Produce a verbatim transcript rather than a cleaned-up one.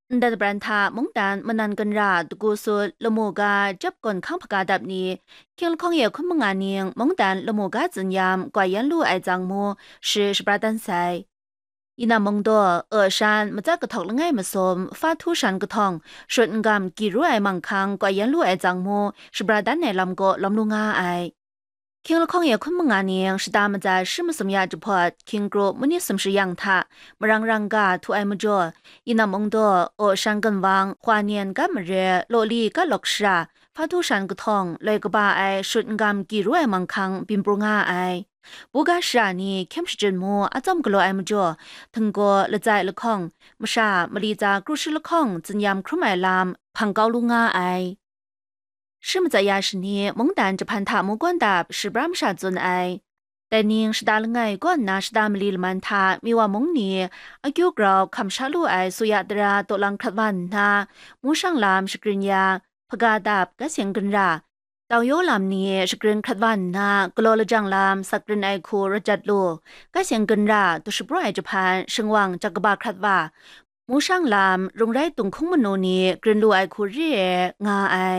Ndat pran hta mungdan manan ginra dagu sut lamu ga jep gawn hkang hpaga dap ni, hkying lahkawng ye hkun manga ning mungdan lamu ga tsinyam gwa yan lu ai tsang mu shi shabra dan sai. Yinam Mungdaw, Oshan, Matsat Kahtawk langai masum, Fa Htu Shan Kahtawng, Shut N Gam Gyi Ru Ai Manghkang gwa yan lu ai tsang mu shabra dan ai lam kaw lawm lu nga ai. Hkying lahkawng ye hkun manga ning shata matsa shi masum ya jahpawt, hkying kru mani sumshi yang hta marang rang ga htu ai majaw, Yinam Mungdaw, Oshan Ginwang, Hwa Nian Gat Mare, Lawli Gat Lawk Shara, Fa Htu Shan Kahtawng, loi kaba ai Shut N Gam Gyi Ru Ai Manghkang byin pru nga ai. Buga shara ni hkyem shachyun mu atsawm galaw ai majaw, htinggaw, latsai lahkawng, masha, mali tsa kru shi lahkawng tsinyam hkrum ai lam hpang kau lu nga ai. Shi matsat ya shani mungdan jahpan hta mu gawn dap shabra masha tsun ai. Dai ning shata langai kaw nna shata mali laman hta Miwa mung ni akyu grau hkam sha lu ai suya tara tawlang hkrat wa nna, mu shang lam shagrin ya, hpaga dap, gat seng ginra, tau yaw lam ni shagrin hkrat wa nna, galaw lajang lam sak rin ai hku rajat lu, gat seng ginra du shapraw ai jahpan shingwang jak kaba hkrat wa, mu shang lam rung rai tung hkung manu ni grin lu ai hku re ai nga ai.